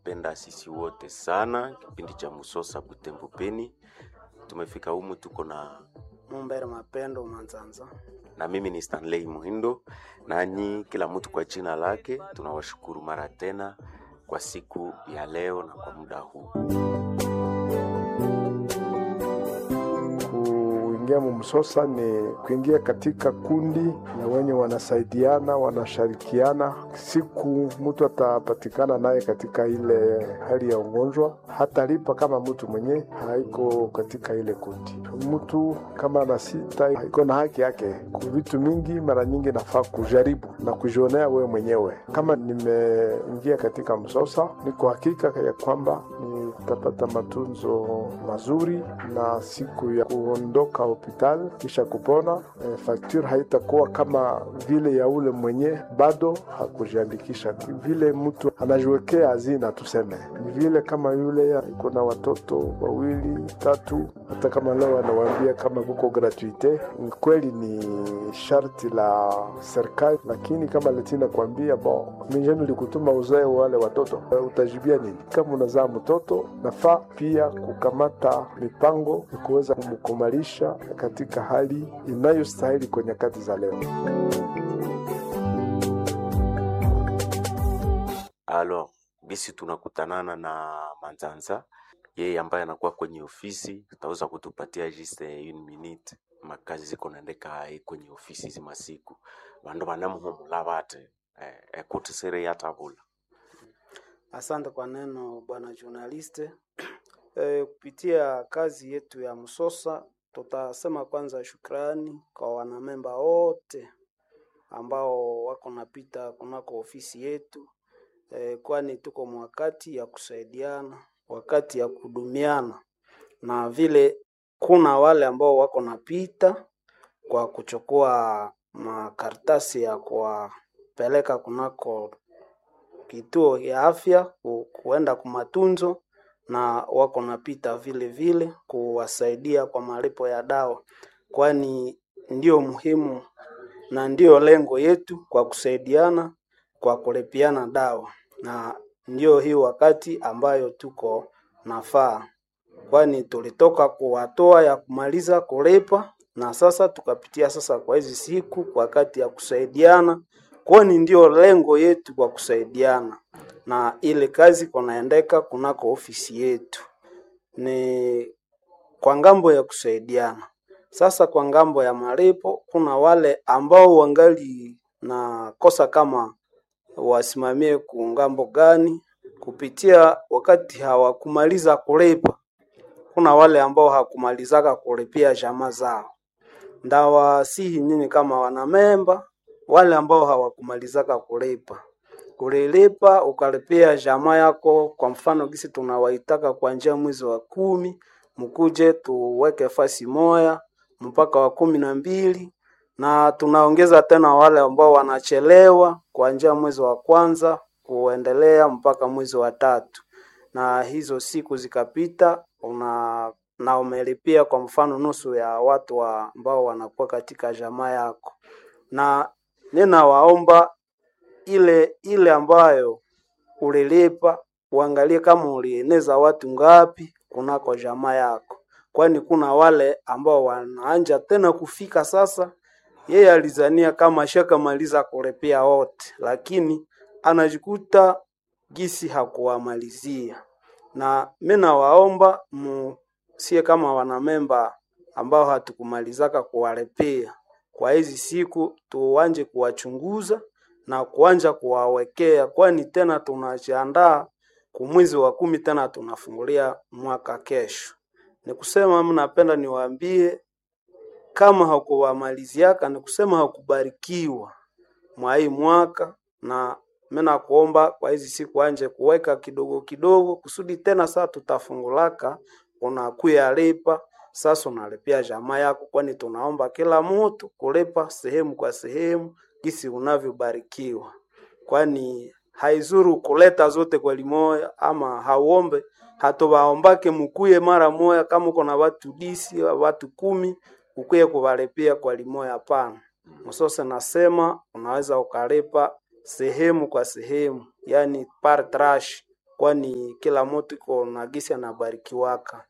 Tunawapenda sisi wote sana. Kipindi cha Musosa Butembo Beni, tumefika humu, tuko na Mumbere Mapendo Manzanza. Na mimi ni Stanley Muhindo, nanyi kila mtu kwa jina lake. Tunawashukuru mara tena kwa siku ya leo na kwa muda huu. Kuingia mumsosa ni kuingia katika kundi na wenye wanasaidiana, wanashirikiana. Siku mtu atapatikana naye katika ile hali ya ugonjwa, hatalipa kama mtu mwenye haiko katika ile kundi. Mtu kama ana sita iko na haki yake kwa vitu mingi. Mara nyingi nafaa kujaribu na kujionea wewe mwenyewe. Kama nimeingia katika msosa, niko hakika ya kwamba nitapata matunzo mazuri na siku ya kuondoka hospitali kisha kupona, facture haitakuwa kama vile ya ule mwenye bado hakujiandikisha. Vile mtu anajiwekea hazina, tuseme ni vile kama yule iko na watoto wawili tatu, hata kama leo anawaambia kama kuko gratuite, ni kweli ni sharti la serikali, lakini kama letina kuambia bon, mimi likutuma uzae wale watoto, utajibia nini? Kama unazaa mtoto, nafaa pia kukamata mipango ya kuweza kumkumalisha katika hali inayostahili kwa nyakati za leo. Alors, bisi tunakutanana na Manzanza, yeye ambaye anakuwa kwenye ofisi, tutaweza kutupatia juste une minute makazi ziko naendeka hai kwenye ofisi zimasiku vandu vanamuhumula vate ekuti sere yatavula. Asante kwa neno bwana journaliste. Kupitia kazi yetu ya Msosa tutasema kwanza shukrani kwa wanamemba wote ambao wako napita kunako ofisi yetu, kwani tuko mwakati ya kusaidiana, wakati ya kudumiana, na vile kuna wale ambao wako napita kwa kuchukua makaratasi ya kuwapeleka kunako kituo ya afya kuenda kumatunzo na wako napita vile vile kuwasaidia kwa malipo ya dawa, kwani ndiyo muhimu na ndiyo lengo yetu kwa kusaidiana kwa kulipiana dawa, na ndiyo hii wakati ambayo tuko nafaa, kwani tulitoka kuwatoa ya kumaliza kulipa na sasa tukapitia sasa kwa hizi siku wakati ya kusaidiana, kwani ndiyo lengo yetu kwa kusaidiana na ile kazi kunaendeka kunako ofisi yetu ni kwa ngambo ya kusaidiana. Sasa kwa ngambo ya malipo, kuna wale ambao wangali na kosa kama wasimamie ku ngambo gani kupitia wakati hawakumaliza kulipa. Kuna wale ambao hakumalizaka kulipia jamaa zao, ndawasihi nyinyi kama wanamemba, wale ambao hawakumalizaka kulipa kulilipa ukalipia jamaa yako. Kwa mfano gisi tunawaitaka kuanzia mwezi wa 10 mkuje tuweke fasi moya mpaka wa 12, na tunaongeza tena wale ambao wanachelewa kuanzia mwezi wa 1 kuendelea mpaka mwezi wa 3, na hizo siku zikapita una na umelipia kwa mfano nusu ya watu ambao wanakuwa katika jamaa yako, na ninawaomba ile ile ambayo ulilipa uangalie kama ulieneza watu ngapi kunako jamaa yako, kwani kuna wale ambao wanaanja tena kufika sasa. Yeye alizania kama ashakamaliza kulipia wote, lakini anajikuta gisi hakuwamalizia. Na mimi nawaomba musie kama wanamemba ambao hatukumalizaka kuwalipia kwa hizi siku, tuanje kuwachunguza na kuanja kuwawekea, kwani tena tunajiandaa kumwezi wa 10 tena tunafungulia mwaka kesho. Ni kusema mnapenda niwaambie kama hakuwamaliziaka, ni kusema hakubarikiwa mwa hii mwaka, na mimi nakuomba kwa hizi siku anje kuweka kidogo kidogo, kusudi tena saa tutafungulaka unakuya lipa sasa, unalipia jamaa yako, kwani tunaomba kila mtu kulipa sehemu kwa sehemu gisi unavyobarikiwa, kwani haizuru kuleta zote kwa limoya ama hauombe hatuwaombake mukuye mara moya. Kama uko na watu disi watu 10 ukuye kuwalipia kwa limoya, hapana. Msose nasema unaweza ukalipa sehemu kwa sehemu, yani par tranche. kwani kila mutu iko na gisi anabarikiwaka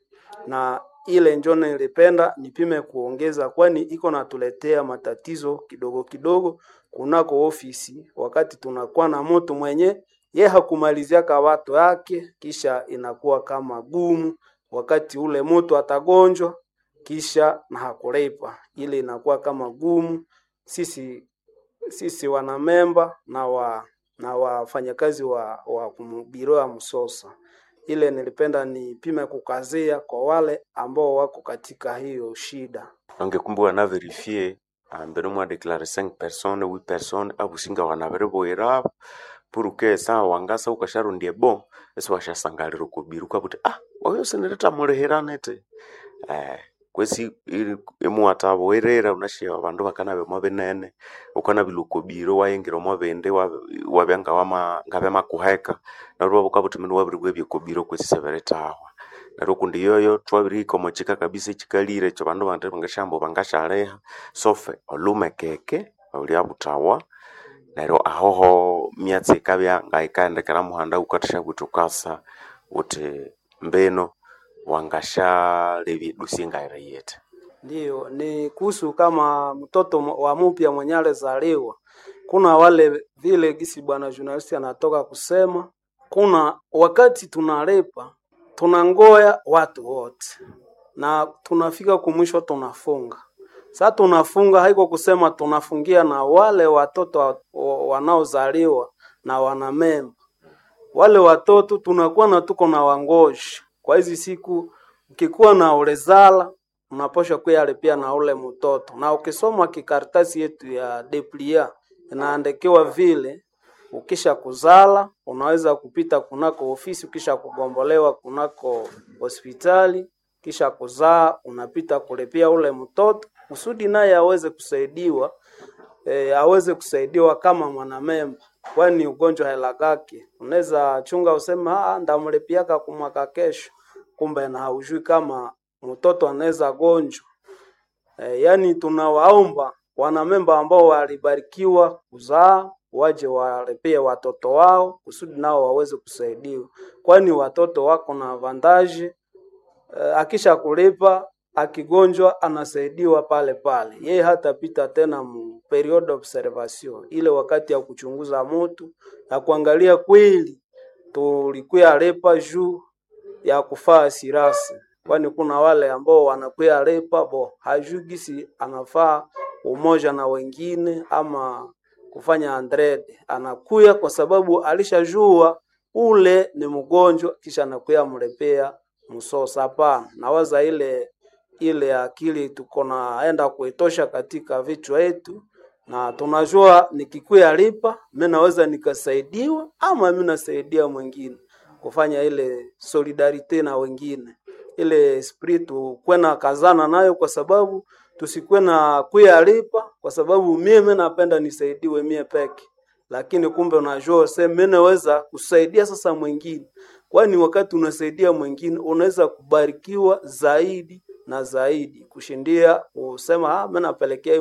na ile njo nilipenda nipime kuongeza, kwani iko natuletea matatizo kidogo kidogo kunako ofisi, wakati tunakuwa na mtu mwenye ye hakumaliziaka watu yake, kisha inakuwa kama gumu wakati ule mtu atagonjwa kisha na hakulipa, ile inakuwa kama gumu. Sisi wanamemba na wafanyakazi wa biro ya Msosa ile nilipenda nipime kukazia kwa wale ambao wako katika hiyo shida. Ange kumbe wana verifie ambere mwa declare 5 personnes 8 personnes abusinga wanabere pour que sa wangasa ukasharundie bon esi washasangalira okubiru ukabuti ah oyo sinireta mulihirane te, kwesi imuwathabughirira wunasi abandu bakanabya omwa binene, wukanabilwa oko biro iwayingira omwa bindi iwabya ngabyamakuheka neryo iwabya wukabuthi mundu wabiribwabya oko biro kwesi isibiritahwa. Neryo kundi yoyo thwabirihika omwa kika kabisa ekikalire ekyo abandu bandi bangasyahamba bangasyaliha sofe olhumekeke olyabuthawa neryo ahoho myatsi yikabya ngayikaghendekera muhanda wukathasyabugha wuthi wukasa wuthi mbino wangasyalebya edossier ngayiri yithi. Ndiyo, ni kuhusu kama mtoto wa mupya mwenye alizaliwa. Kuna wale vile gisi bwana journalist anatoka kusema, kuna wakati tunalipa tunangoya watu wote na tunafika kumwisho tunafunga. Sasa tunafunga haiko kusema tunafungia na wale watoto wanaozaliwa na wanamemba wale watoto tunakuwa na tuko na wangoji kwa hizi siku. Ukikuwa na ulezala unaposha kuyalipia na ule mtoto, na ukisoma kikaratasi yetu ya deplia inaandikiwa vile, ukisha kuzala unaweza kupita kunako ofisi, ukisha kugombolewa kunako hospitali, kisha kuzaa unapita kulipia ule mtoto kusudi naye aweze kusaidiwa aweze kusaidiwa kama mwanamemba, kwani ugonjwa helakake. Unaweza chunga useme ah, ndamlipiaka kumwaka kesho, kumbe na haujui kama mtoto anaweza gonjwa. Yani tunawaomba wanamemba ambao walibarikiwa kuzaa waje walipie watoto wao kusudi nao waweze kusaidiwa, kwani watoto wako na vandaji akisha kulipa akigonjwa anasaidiwa pale pale, yeye hatapita tena mu period observation, ile wakati ya kuchunguza mutu na kuangalia kweli tulikuya lipa juu ya kufaa sirasi, kwani kuna wale ambao wanakuya lipa bo hajui gisi anafaa umoja na wengine ama kufanya andrede, anakuya kwa sababu alishajua ule ni mgonjwa, kisha anakuya mlepea msosa. Hapana, nawaza ile ile akili tuko naenda kuitosha katika vichwa yetu, na tunajua nikikuya lipa mimi naweza nikasaidiwa ama mimi nasaidia mwingine kufanya ile solidarite na wengine, ile esprit tukwe na kazana nayo, kwa sababu tusikuwe na kuya lipa kwa sababu mimi napenda nisaidiwe mie peke, lakini kumbe unajua sema mimi naweza kusaidia sasa mwingine, kwani wakati unasaidia mwingine unaweza kubarikiwa zaidi na zaidi kushindia kusema ah, mimi napelekea hii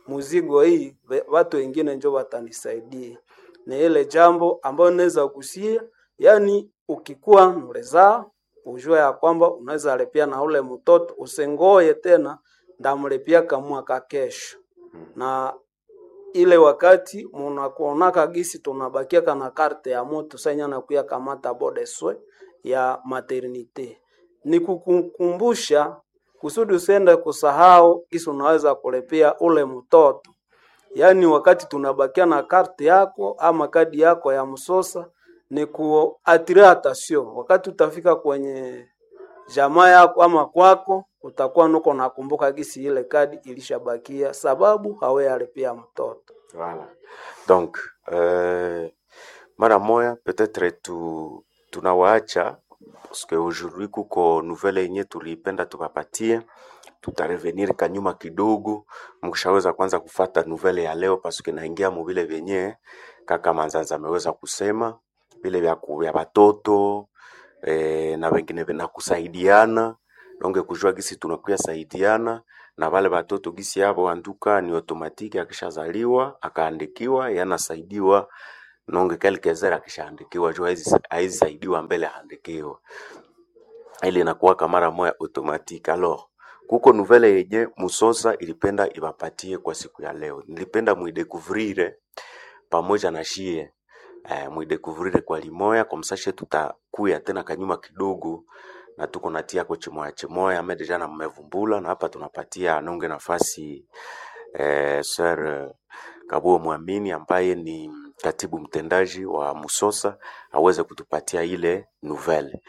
muzigo hii watu wengine njo watanisaidia. Ni ile jambo ambayo naweza kusia, yani ukikuwa mlezaa ujue ya kwamba unaweza lipia na ule mtoto, usingoye tena ndamlipia kamwaka kesho. Na ile wakati munakuonaka gisi tunabakiaka na karte ya mutu senya nakuya kamata bodeswe ya maternite ni kukukumbusha kusudi usiende kusahau gisi unaweza kulipia ule mtoto. Yaani wakati tunabakia na karte yako ama kadi yako ya msosa ni kuatire attention. Wakati utafika kwenye jamaa yako ama kwako, utakuwa nuko nakumbuka gisi ile kadi ilishabakia, sababu haweyalipia mtoto. Voilà. Donc mara moya peut-être tunawaacha parce que aujourd'hui kuko nouvelle yenye tuliipenda tukapatie, tutarevenir kanyuma kidogo, mkishaweza kwanza kufata nouvelle ya leo parce que naingia mubile vyenye kaka Manzanza ameweza kusema vile vya vya batoto na wengine na kusaidiana donge kujua gisi tunakuya saidiana na wale batoto gisi yabo anduka ni automatique, akishazaliwa akaandikiwa yanasaidiwa Nonge quelques heures akishaandikiwa juu haizi saidiwa mbele ahandikiwe, ile inakuwaka mara moya automatique. Alors kuko nouvelle yenye Musosa ilipenda ibapatie kwa siku ya leo, nilipenda muidécouvrir pamoja na shie muidécouvrir kwa limoya kwa msashe, tutakuya tena kanyuma kidogo na tuko natia ko chimoya chimoya ame déjà na mmevumbula, na hapa tunapatia nonge nafasi Sir Kabuo Mwamini ambaye ni katibu mtendaji wa Musosa aweze kutupatia ile nouvelle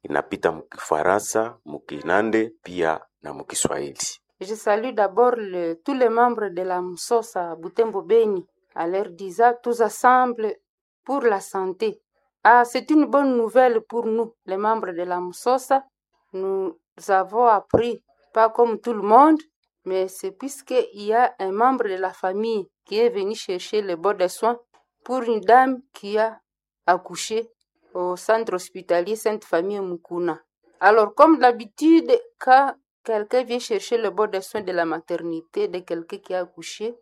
inapita mkifaransa, mkinande pia na mkiswahili. Je salue d'abord tous les membres de la Msosa Butembo Beni, à leur disant tous ensemble pour la santé. Ah, c'est une bonne nouvelle pour nous, les membres de la Msosa. Nous avons appris, pas comme tout le monde, mais c'est puisqu'il y a un membre de la famille qui est venu chercher le bon de soins pour une dame qui a accouché au centre hospitalier Sainte-Famille Mukuna. Alors, comme d'habitude, quand quelqu'un vient chercher le bon de soins de la maternité de quelqu'un qui a accouché,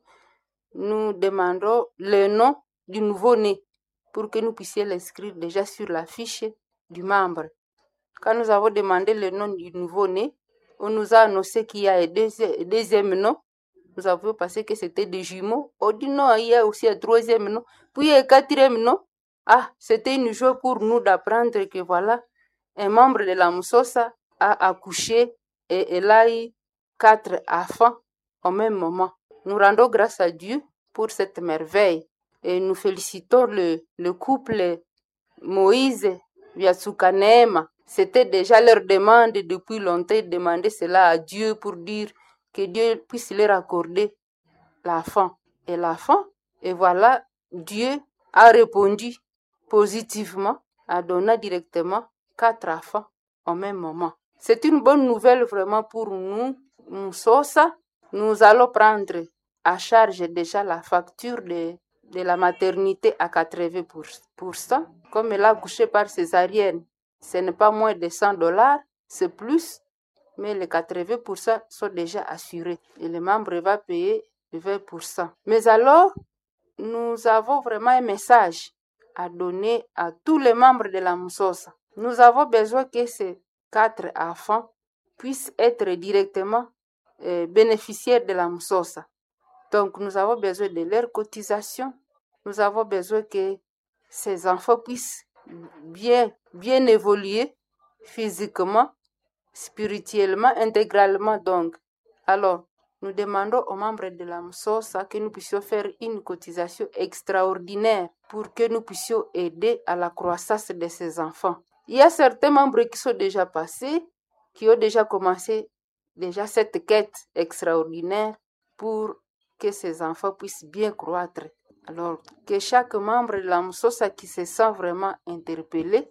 nous demandons le nom du nouveau-né pour que nous puissions l'inscrire déjà sur la fiche du membre. Quand nous avons demandé le nom du nouveau-né, on nous a annoncé qu'il y a un deuxième nom. Nous avons pensé que c'était des jumeaux. On dit non, il y a aussi un troisième nom. Puis il y a un quatrième nom. Ah, c'était une joie pour nous d'apprendre que voilà, un membre de la Msosa a accouché et elle a eu 4 enfants au même moment. Nous rendons grâce à Dieu pour cette merveille et nous félicitons le couple Moïse Vyatsuka Neema. C'était déjà leur demande depuis longtemps, ils demandaient cela à Dieu pour dire que Dieu puisse leur accorder l'enfant. Et l'enfant, et voilà, Dieu a répondu positivement, a donné directement 4 enfants au même moment. C'est une bonne nouvelle vraiment pour nous, Msosa. Nous allons prendre à charge déjà la facture de la maternité à 80%. Comme elle a accouché par césarienne, ce n'est pas moins de 100 $, c'est plus, mais les 80% sont déjà assurés et le membre va payer 20%. Mais alors, nous avons vraiment un message à donner à tous les membres de la Msosa. Nous avons besoin que ces 4 enfants puissent être directement bénéficiaires de la Msosa. Donc, nous avons besoin de leur cotisation. Nous avons besoin que ces enfants puissent bien, bien évoluer physiquement, spirituellement, intégralement. Donc, alors, nous demandons aux membres de la Msosa que nous puissions faire une cotisation extraordinaire pour que nous puissions aider à la croissance de ces enfants. Il y a certains membres qui sont déjà passés, qui ont déjà commencé déjà cette quête extraordinaire pour que ces enfants puissent bien croître. Alors, que chaque membre de la Msosa qui se sent vraiment interpellé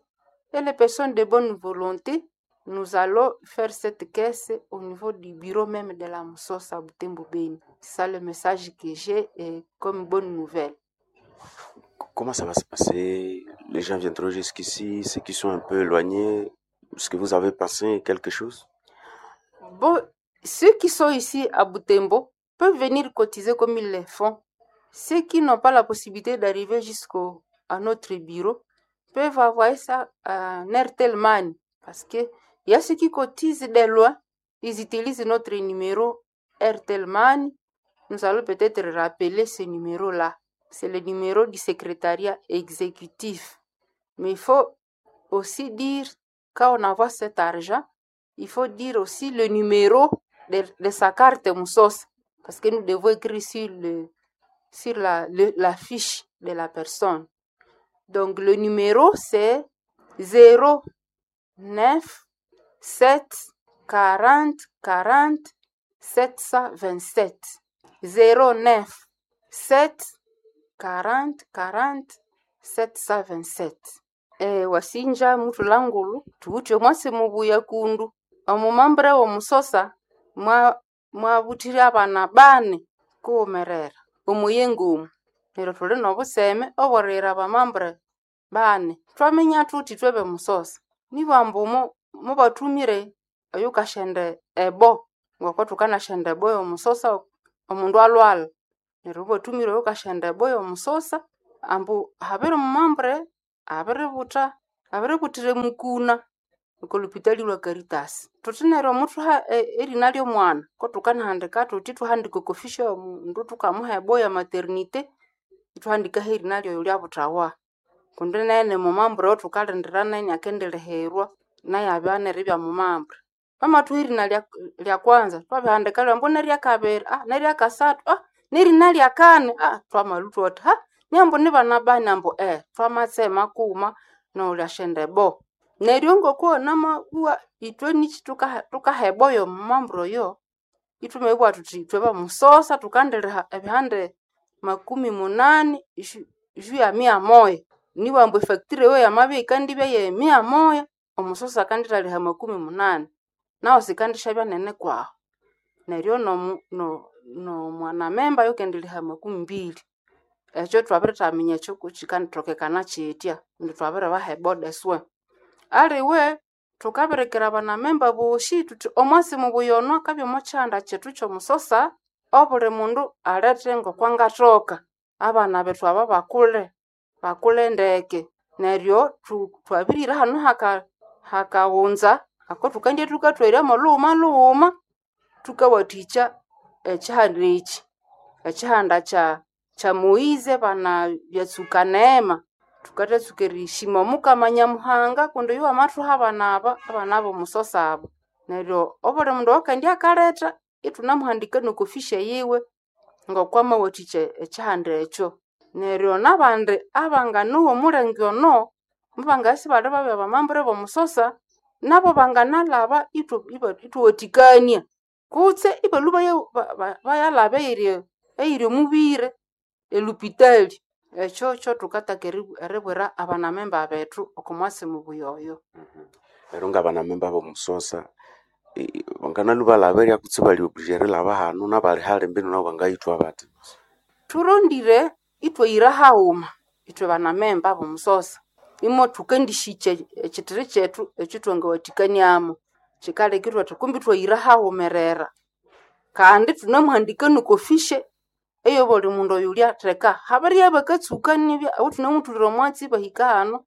et les personnes de bonne volonté, nous allons faire cette caisse au niveau du bureau même de la Msosa Butembo Beni. C'est ça le message que j'ai comme bonne nouvelle. Comment ça va se passer? Les gens viendront jusqu'ici, ceux qui sont un peu éloignés, est-ce que vous avez pensé quelque chose? Bon, ceux qui sont ici à Butembo peuvent venir cotiser comme ils le font. Ceux qui n'ont pas la possibilité d'arriver jusqu'au à notre bureau peuvent envoyer ça à Airtel Money parce que il y a ceux qui cotisent de loin, ils utilisent notre numéro Airtel Money. Nous allons peut-être rappeler ce numéro-là. C'est le numéro du secrétariat exécutif. Mais il faut aussi dire, quand on envoie cet argent, il faut dire aussi le numéro de sa carte Msosa, parce que nous devons écrire sur la fiche de la personne. Donc le numéro, c'est 0 9 7 40 40 727. 0 9 7 40 40 727. Wasinja mutulangulu tuwuthe mwasi mubuya kundu omumambre womusosa mwabuthire abana bane kuwumerera omuyengo omu. Neryo thuli nobuseme oboriyira abamambre bane. Twaminya thuthi ithwe bemusosa nibambu mubathumire oyukashenda ebo, ngoko thukanashenda ebo yomusosa omundu alhwalha. Neryo mubathumire oyukashenda ebo yomusosa. Ambu habiri mumambre abiributha abiributhira mukuna oko lupitali lwa Caritas. Thuthi neryo muthuha erina ly'omwana ko thukanahandika thuthi thuhandika oko fishi y'omundu thukamuha ebo ya maternité ithuhandikaho erina ly'oyo lyabuthawa. Kundi naye nimumambre oyothukalindira naye inakendilihirwa naye abya neribya mumambre. Bamathuha erina lya kwanza thwabihandika ambu neryakabiri neryakasathu nerina lyakani twamalhwa ithwathi ha niambu nibana bani ambu twamatsema kughuma nolyasyenda ebo. Neryo ngoko namabugha ithwe niki thukaha ebo y'omumambre oyo ithwamabugha thuthi ithwe bamusosa thukandiliha ebihande 80 ju ya 100. Nibugha ambu efactory eyo yamabya yikandibya ye 100 omusosa akandithaliha 80 nahu sikandisyabya nene kwahu. Neryo nomwanamemba ayukendiliha 20. Ekyo thwabirithaminya ekyo kukyikanithokekana kyitya kundi thwabiribaha ebo de soins. Aliwe thukabirikira abanamemba bosi thuthi omwasi mubuya ono akabya omo kihanda kyethu ky'omusosa obuli mundu alethe ngokwangathoka. Abana bethu aba bakule, bakule ndeke. Neryo thwabirira hanu hakaghunza ako thukandya thukathwerya molhughuma lhughuma thukawathikya ekihanda eki. Ekihanda kya Moise bana byatsuka neema. Thukathatsuka erishima Omukama Nyamuhanga kundi oyo wamathuha abana aba, abana b'omusosa aba. Neryo obuli mundu oyukendya akaletha ithunamuhandika n'oko fishi yiwe ng'okwamawathikya ekihanda ekyo. Neryo n'abandi abanganowa omulenge ono mubangabya isibali babya bamambre b'omusosa nabo banganalhaba ithuwathikania kutse ibalhwa bayalhaba eyiri omubiri elupitali. Ekyo kyothukataka eribwira abanamemba bethu oko mwasi mubuya oyo. Neryo ngabanamemba b'omusosa banganalwa balhaberya kutse bali obligé erilhaba hanu nabali hali mbinu nabo bangayithwa bathi? Thurondire ithwayira haghuma ithwe banamemba b'omusosa imo thukandishikya ekithiri kyethu ekyithwangawathikaniamu. Kyikaleka ithwathi kumbi ithwayira haghumerera kandi thunamuhandika n'oko fishe ey'obuli mundu oyulyatheka. Habiribya bakatsuka nibya ahu thunamuthulira omwatsi ibahika hanu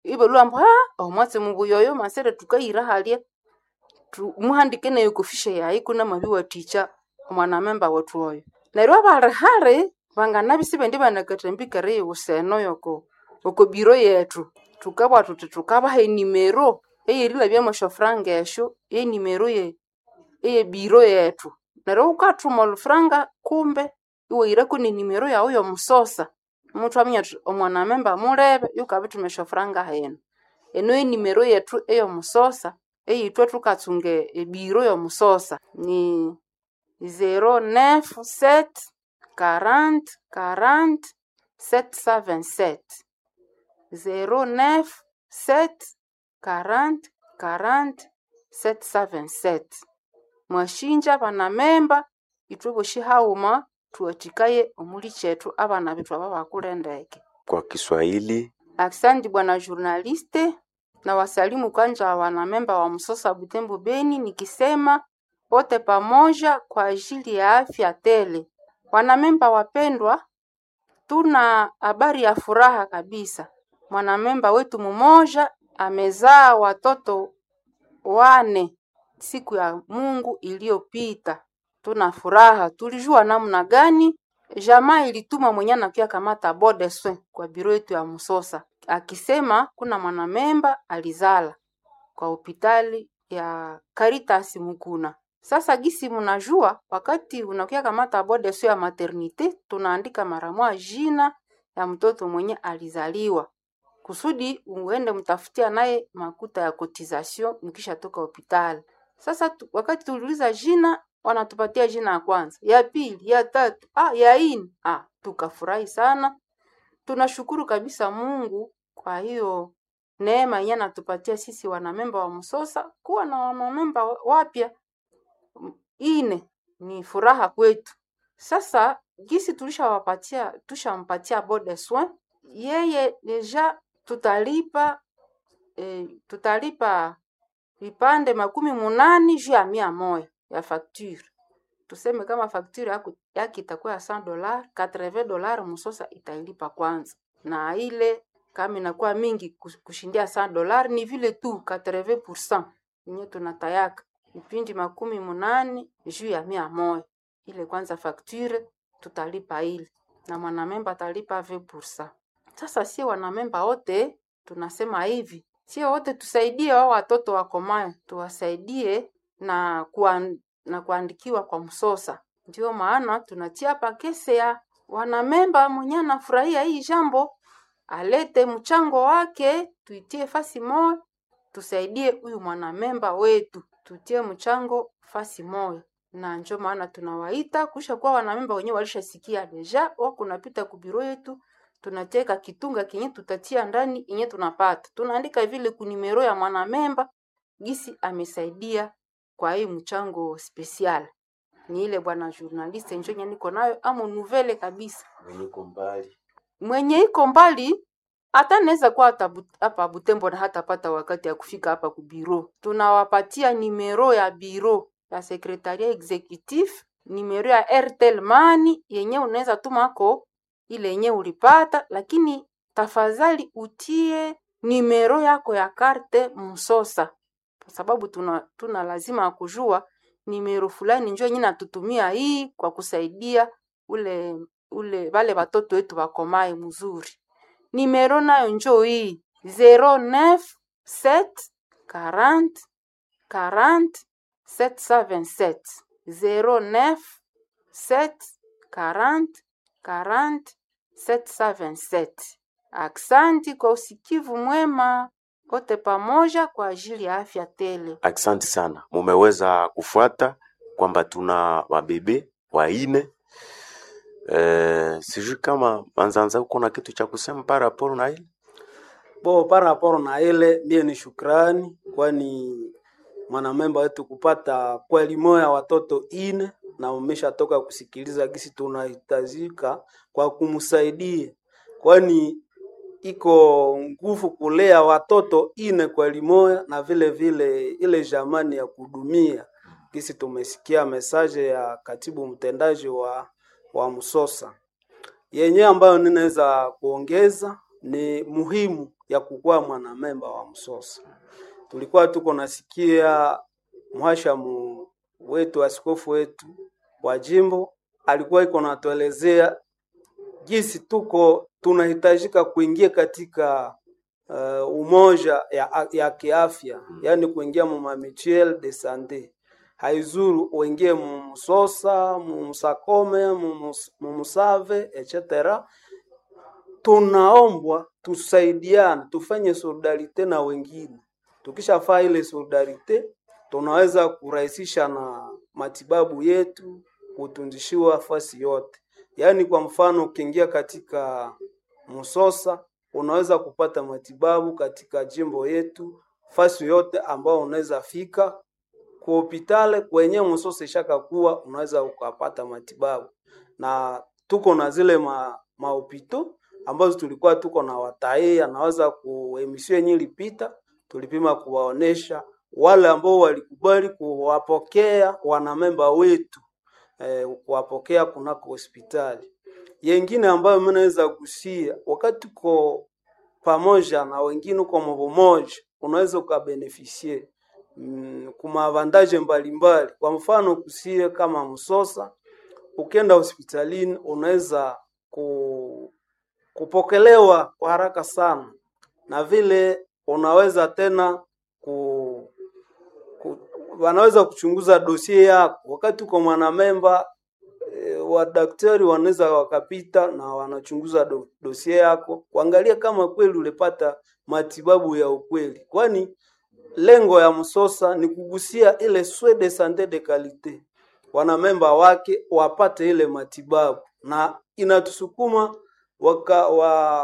ibalhwa ambu omwatsi mubuya oyo masire thukayira halya. Muhandike nayo oko fishe yayi kunamabiwathikya omwanamemba wethu oyo. Neryo abali hali banganabya isibendi banakathambika eriyiwusa eno yoko oko biro yethu. Thukabugha thuthi thukabaha enimero eyerilhabyamu esyofuranga esyo yenimero eyebiro yethu. Neryo ghukathuma olhufuranga kumbe iwahirako nenimero yaghu y'omusosa muthwaminya thuthi omwanamemba mulebe yukabithuma esyofuranga hino. Eno yenimero yethu ey'omusosa eyithwe thukatsunga ebiro y'omusosa ni 097 40 40 727. 097 40 40 727. Mwashinja banamemba ithwe bosi haghuma thuwathikaye omuli kyethu abana bethu aba bakule ndeke. Kwa Kiswahili. Aksanti bwana journaliste, na wasalimu kwanza wanamemba wa Msosa Butembo Beni nikisema wote pamoja kwa ajili ya afya tele. Wanamemba wapendwa, tuna habari ya furaha kabisa. Mwanamemba wetu mmoja amezaa watoto 4 siku ya Mungu iliyopita. Tuna furaha, tulijua namna gani jamaa ilituma mwenye anakuya kamata bode soin kwa biro yetu ya Musosa akisema kuna mwanamemba alizala kwa hopitali ya Caritas Mukuna. Sasa gisi mnajua, wakati unakuya kamata bode soin ya maternite, tunaandika mara moja jina ya mtoto mwenye alizaliwa kusudi uende mtafutia naye makuta ya cotisation mkishatoka hopitali. Sasa wakati tuliuliza jina, wanatupatia jina ya kwanza, ya pili, ya tatu, ya ine. Tukafurahi sana. Tunashukuru kabisa Mungu kwa hiyo neema yenye anatupatia sisi wanamemba wa Msosa kuwa na wanamemba wapya 4 ni furaha kwetu. Sasa gisi tulishawapatia tushampatia bode soin yeye deja tutalipa tutalipa vipande 80 juu ya 100 ya facture. Tuseme kama facture yake itakuwa ya $100, $80 Msosa itailipa kwanza. na ile kama inakuwa mingi kushindia $100 ni vile tu 80% yenye tunatayaka vipindi 80 juu ya 100. Ile kwanza facture tutalipa ile na mwanamemba atalipa 20%. Sasa sie wanamemba wote tunasema hivi, sie wote tusaidie wao watoto wakomayo, tuwasaidie na na kuandikiwa kwa msosa. Ndio maana tunatia pakese ya wanamemba mwenye anafurahia hii jambo alete mchango wake, tuitie fasi moja, tusaidie huyu mwanamemba wetu, tutie mchango fasi moja. Na njo maana tunawaita kusha kuwa wanamemba wenyewe walishasikia deja, wako napita ku biro yetu, tunateka kitunga kinye tutatia ndani inye tunapata, tunaandika vile kunimero ya mwanamemba gisi amesaidia kwa hii mchango special. Ni ile bwana journaliste njo nye niko nayo amo nouvelle kabisa. Mwenye iko mbali Mwenye iko mbali hata naweza kuwa hapa Butembo na hatapata wakati ya kufika hapa ku biro. Tunawapatia nimero ya biro ya sekretaria executif, nimero ya Airtel Money yenye unaweza tumako ile yenye ulipata, lakini tafadhali utie nimero yako ya karte msosa, kwa sababu tuna lazima ya kujua nimero fulani njo yenye natutumia hii kwa kusaidia ule ule wale watoto wetu wakomae mzuri. Nimero nayo njo hii 09 7 40 40 727 09 7 40 40 727. Aksanti kwa usikivu mwema, wote pamoja kwa ajili ya afya tele. Asante sana, mumeweza kufuata kwamba tuna wabebe waine. Sijui kama Manzanza uko na kitu cha kusema par rapport na ile Bo par rapport na ile mie ni shukrani, kwani mwanamemba wetu kupata kweli moya watoto ine na umeshatoka kusikiliza gisi tunahitajika kwa kumsaidia, kwani iko nguvu kulea watoto ine kwa limoya na vile vile ile jamani ya kudumia. Gisi tumesikia mesaje ya katibu mtendaji wa Msosa yenye ambayo ninaweza kuongeza ni muhimu ya kukuwa mwanamemba wa Msosa. Tulikuwa tuko nasikia mhashamu wetu askofu wetu wa jimbo alikuwa iko natuelezea jinsi tuko tunahitajika kuingia katika umoja ya kiafya, yaani kuingia mu mutuelle de sante. Haizuru uingie mu Msosa, mu Msakome, mu Musave etc. Tunaombwa tusaidiane, tufanye solidarite na wengine. Tukishafaa ile solidarite, tunaweza kurahisisha na matibabu yetu, kutunzishiwa fasi yote. Yaani kwa mfano ukiingia katika Msosa unaweza kupata matibabu katika jimbo yetu fasi yote ambao unaweza fika ku hopitale kwenye Msosa ishakakuwa unaweza ukapata matibabu, na tuko na zile mahopito ambazo tulikuwa tuko na watae anaweza ku emission yenye ilipita tulipima kuwaonesha wale ambao walikubali kuwapokea wanamemba wetu kuwapokea kunako hospitali. Yengine ambayo mimi naweza kusia, wakati uko pamoja na wengine uko mmoja, unaweza ukabenefisie kuma avantage mbalimbali. Kwa mfano kusie kama Msosa, ukienda hospitalini unaweza kupokelewa kwa haraka sana, na vile unaweza tena wanaweza kuchunguza dosie yako wakati uko mwanamemba. Wadaktari wanaweza wakapita na wanachunguza dosie yako kuangalia kama kweli ulipata matibabu ya ukweli, kwani lengo ya Msosa ni kugusia ile soins de sante de kalite, wanamemba wake wapate ile matibabu, na inatusukuma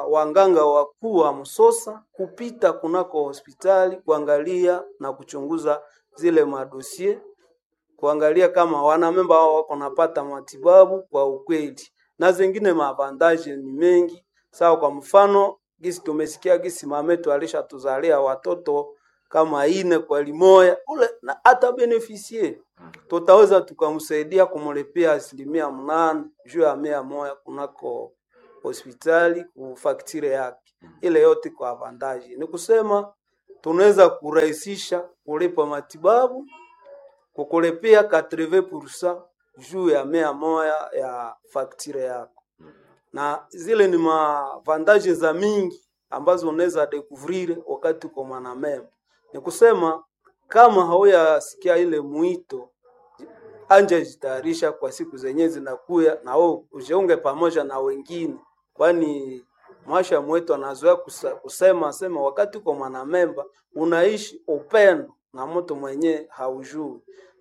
wanganga wakuu wa Msosa kupita kunako hospitali kuangalia na kuchunguza zile madosie, kuangalia kama wanamemba wao wako napata matibabu kwa ukweli, na zingine maavantaje ni mengi. Sawa, kwa mfano gisi tumesikia gisi mametu alishatuzalia watoto kama ine kwa limoya ule na hata benefisie tutaweza tukamsaidia kumlipia 8% juu ya 100 kunako hospitali ku facture yake, ile yote kwa avantage. Ni kusema tunaweza kurahisisha kulipa matibabu kukulipia 80% juu ya 100 ya facture yako, na zile ni mavantaje za mingi ambazo unaweza découvrir wakati uko mwanamemba. Ni kusema kama hauyasikia ile mwito, anja jitayarisha kwa siku zenye zinakuya, na wewe ujiunge pamoja na wengine, kwani mwasha mwetu anazoea kusema sema, wakati uko mwanamemba unaishi upendo na mtu mwenye haujui,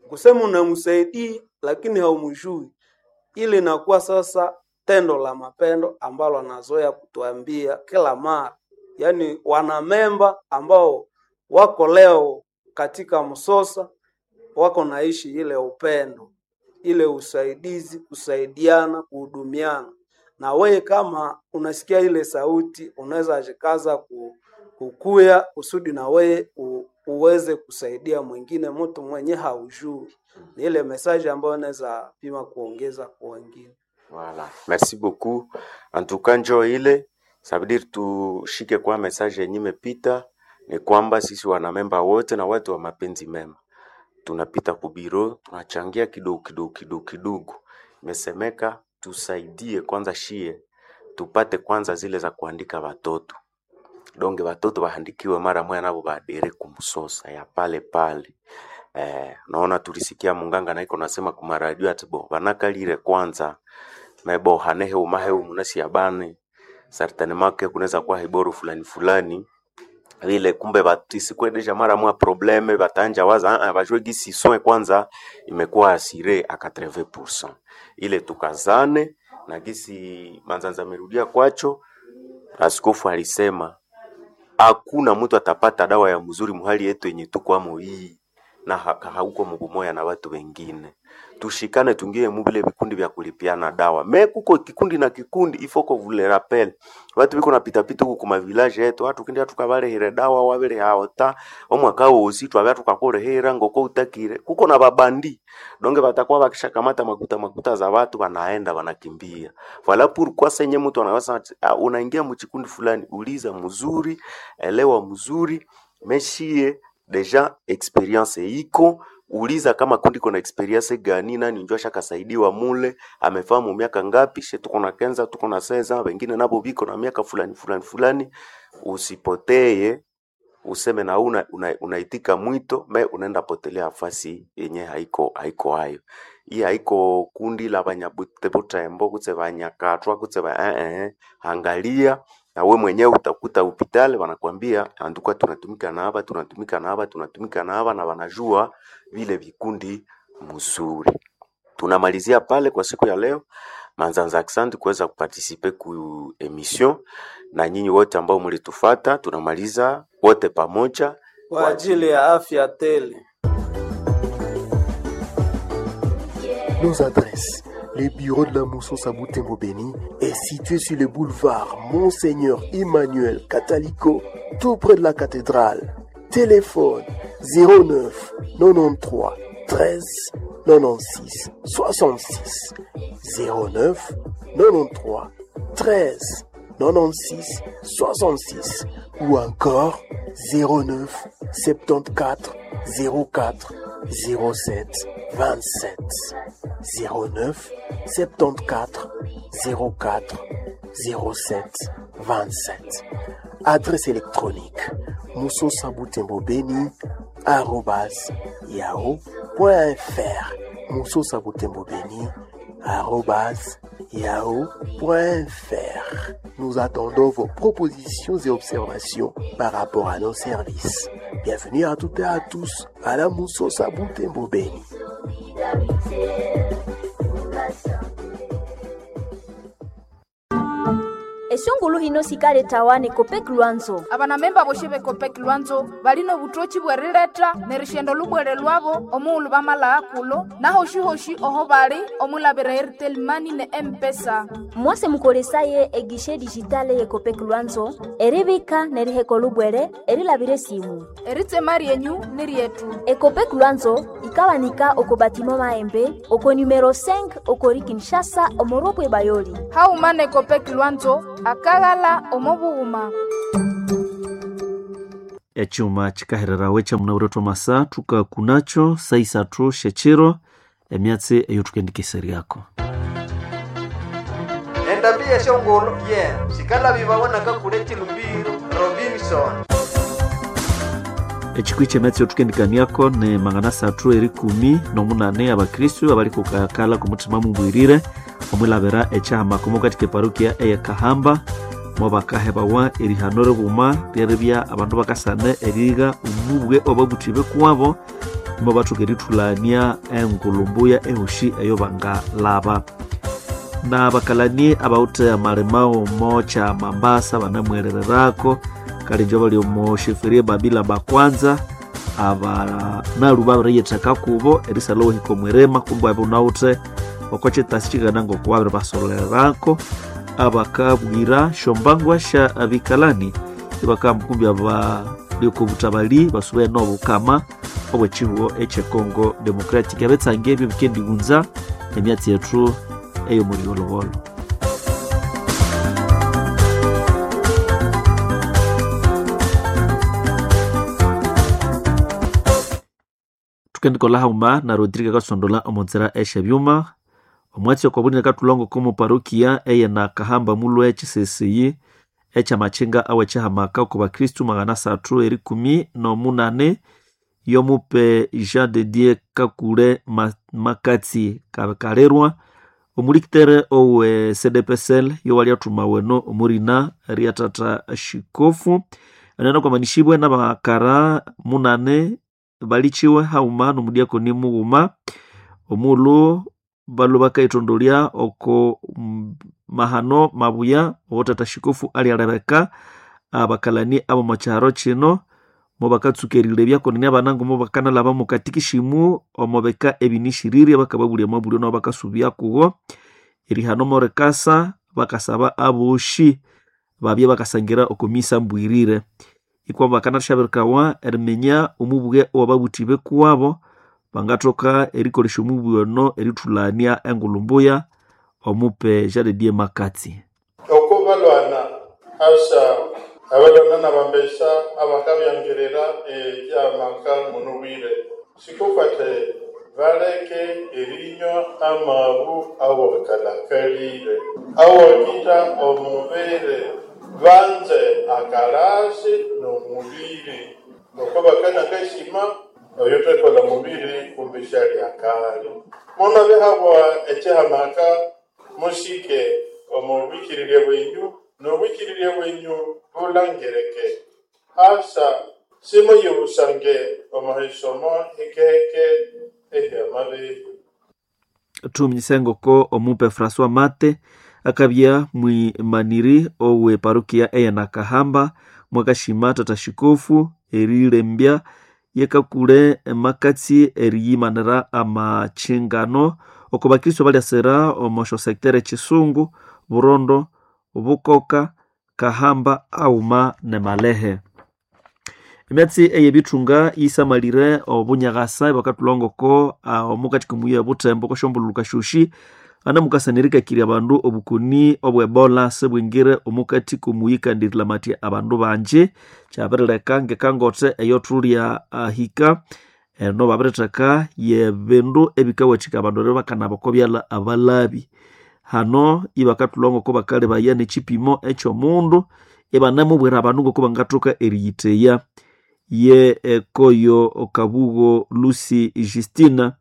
kusema unamsaidia lakini haumjui, ile inakuwa sasa tendo la mapendo ambalo anazoea kutuambia kila mara, yaani wanamemba ambao wako leo katika Msosa wako naishi ile upendo, ile usaidizi, kusaidiana, kuhudumiana. Na wewe kama unasikia ile sauti, unaweza jikaza kukuya kusudi na wewe uweze kusaidia mwingine, mtu mwenye haujui. Ni ile message ambayo naweza pima kuongeza kwa wengine. Voilà. Merci beaucoup. En tout cas njo ile ça veut dire tushike kwa message yenye imepita ni kwamba sisi wanamemba wote na watu wa mapenzi mema tunapita kubiro tunachangia kidogo kidogo kidogo kidogo. Imesemeka tusaidie kwanza shie tupate kwanza zile za kuandika watoto donge watoto waandikiwe mara moya nabo baadere kumsosa ya pale pale. Naona tulisikia munganga naiko nasema kumaradio ati bo banakalire kwanza mebo hanehe umahe umunasi yabane certainement que kunaweza kuwa hiboro fulani fulani vile kumbe batisikwendesha mara mwa probleme batanja waza ah, bajue gisi soin kwanza imekuwa asire a 80% ile tukazane na gisi Manzanza amerudia kwacho. Askofu alisema hakuna mtu atapata dawa ya mzuri muhali yetu yenye tukwamo hii na hauko mubumoya na watu wengine. Tushikane tungie mubile vikundi vya kulipiana dawa. Me kuko kikundi na kikundi ifoko vule rappel. Watu biko na pita pita huku kuma village yetu, watu kindi tukabalehera dawa wabele haota omwaka wosi twabya tukakolehera ngoko utakire. Kuko na babandi donge batakuwa bakishakamata makuta makuta za watu wanaenda wanakimbia. Voilà pourquoi senye mtu anaweza unaingia mchikundi fulani, uliza mzuri, elewa mzuri, meshie deja experience iko uliza kama kundi kona experience gani, nani njoo ashakasaidiwa mule, amefahamu miaka ngapi, she tuko na kenza tuko na seza, wengine nabo biko na miaka fulani fulani fulani. Usipoteye useme na unaitika mwito me unaenda potelea afasi yenye haiko haiko hayo. Hii haiko kundi la banyabutembo kutse banyakatwa kutse ba angalia na we mwenyewe utakuta upitale wanakwambia anduka, tunatumika na hapa tunatumika na hapa tunatumika na hapa, na wanajua vile vikundi mzuri. Tunamalizia pale kwa siku ya leo. Manzanza, asante kuweza kuparticiper ku emission, na nyinyi wote ambao mlitufata, tunamaliza wote pamoja kwa ajili ya afya tele. Nos adresses. Le bureau de la Moussos à Butembo Beni est situé sur le boulevard Monseigneur Emmanuel Catalico, tout près de la cathédrale. Téléphone 09 93 13 96 66 09 93 13 96 66 ou encore 09 74 04 07 27 09 74 04 07 27. Adresse électronique moussosabutembobeni@yahoo.fr moussosabutembobeni@yahoo.fr. Nous attendons vos propositions et observations par rapport à nos services. Bienvenue à toutes et à tous à la Moussosa Butembo Beni. Esyongulu hino sikaletawa ne Copec Lwanzo. Abanamemba boshe be Copec Lwanzo balina obutoki bw'erileta nerishenda olubwere lwabo omughulhu bamalagha kulo nahoshi-hoshi oho bali omwilabira Airtel Money ne M-Pesa. Mwase mukolesaye egishe digitale ye Copec Lwanzo eribika neriheka olubwere erilabira esimu. Eritsema ryenyu ni ryetu. Ecopec Lwanzo ikabanika oko batimo Maembe oko numero 5 okori Kinshasa omoropwe Bayoli. Hauma ne Copec Lwanzo akaghala omo bughuma. Echuma chikahererawe chamunawire masa tukakunacho saisathu syechiro emyatsi eyo tukendikeseryako. Endambi yeshongolo ye sikalabibawa nakakule chilumbiro Robinson. Echikwi kyemyatsi yotukendikaniako ni 318 abakristu abalikukakala kumuthima mubwirire omwilabira ekyahama mukati keparukia eyekahamba mobakahebawa erihano ribuma lyeribya abandu bakasana erigha omubwe obabuthibwe kuwabo mobathoka erithulania engulumbuya ehoshi eyo bangalaba. Na bakalani abawuthe amalima omo kya Mambasa banamwerererako kalinjo bali omo sheferie Babila bakwanza aba nalu babiriyitheka kubo erisalha wahika omwirima kumbe abo nawuthe oko kyitasi kikana ngoko babiribasolererako abakabwira shombangwa sha abikalani ibakamukumbi abaliokobutabali basube nobukama obwekihugo ekye Congo Democratic. Abetsange ebyo bikendighunza emyatsi yethu eyo muliolobolo. Tukendikola hauma na Rodrigo akasondola omonzera esyebyuma omwatsi okobulina katulongo komu parokia eye na Kahamba mulwe ekisesiyi ekyamakhinga awekihamaka oko bakristu 318 yomupe Jean de Dieu Kakule Makatsi Kalerwa omulikitere owe CDPSL yowalyathuma weno omurina ryatata shikofu anene kwamanishibwe n'abakara 8 balichiwe hauma nomudiakoni mughuma omulhu balu bakaithondolya oko mahano mabuya owotata shikofu alyalebeka abakalani abo mokyaro kino mobakatsuka erilebya konene abanangu mobakanalaba mukatikishimu omobeka ebinishirire bakababulya amabulyo nabo bakasubya kugo erihano morekasa bakasaba aboshi babye bakasangira okomisa mbwirire ikwa bakanashabirikawa eriminya omubwe owababuthibwe kuwabo bangathoka erikolesya omubwe ono erithulania engulumbuya omupe Jean de Dieu Makatsi. Oko balwana asa abalwana nabambesa abakabyangirira ekyamaka munubwire sikukwate baleke erinywa amabu awakalakalire awakita omubere banze akalasi n'omubiri oko bakana keshima oyo twekola mubiri kumbisha lyakali muno bihabwa ekyihamaka mushike omubwikirirye bwenyu n'obwikirirye bwenyu bulangirike asa simuyibusange omuhisomo hikehike ehyamabiri. Thuminyisengoko omupe François Mate akabya mwimaniri owe parukia eye Nakahamba mwakashima tata shikofu erilembya yekakule Makatsi eriyimanira amachingano oko bakristo balyasira omosho sektere Chisungu, Burondo, Bukoka, Kahamba auma ne Malehe. Emyatsi eyebithunga yisamalire obunyakasa ibakathulhangoko omukati komuyi Butembo kwasyombululu syosi anamukasanirikakirya abandu obukoni obwebola sibwingire omukati komuyi kandi erilamatya abandu bangi. Kyabirileka ngekangothe eyothulya ahika eno babiritheka yebindu ebikawathika abandu eribya bakanaba okobyalha abalabi. Hano ibakathulha ngoko bakalebaya nekyipimo ekyomundu ibanamubwira abandu ngoko bangathoka eriyitheya. Ye ekoyo Kabugo Lucy Justina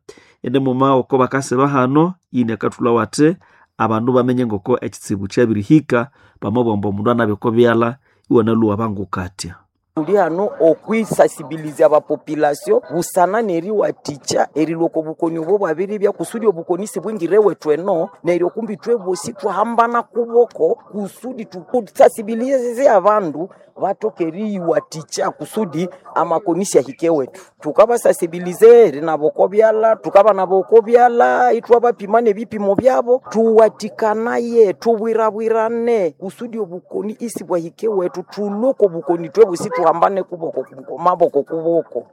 ende muma oko bakasiba hano ini akathulha wathi abandu bamenye ngoko ekitsibu kyabirihika bamabugha ambu omundu anabya oko byalha iwanalhuwa bangukatya. Tuli hano okwisasibilizya abapopulation busana neriwathikya erilwa oko bukoni obo bwabiribya kusudi obukoni sibwingire wethu eno, neryo kumbi ithwe bosi twahambana kuboko kusudi tusasibilize abandu bathoke eriyiwathikya kusudi amakoni syahike wethu. Thukabasasibilize erinaba oko byalha, tukabanaba oko byalha ithwabapima nebipimo byabo, thuwathikanaye, thubwirabwirane kusudi obukoni isibwahike wethu, thulwe oko bukoni ithwe bosi tuhambane kuboko maboko kuboko.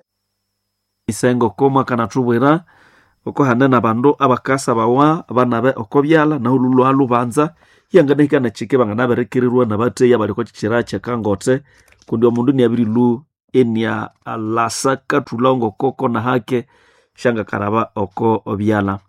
Isengo komwa kanathubwira oko hane nabandu abakasabawa banabe oko byalha nahu lulwa lubanza yanganahika nakike banganaberekererwa nabatheya abali oko kyikyira kyekangote kundi omundu niabirilu enia lasa kathulha ngokoko nahake syangakaraba oko byalha.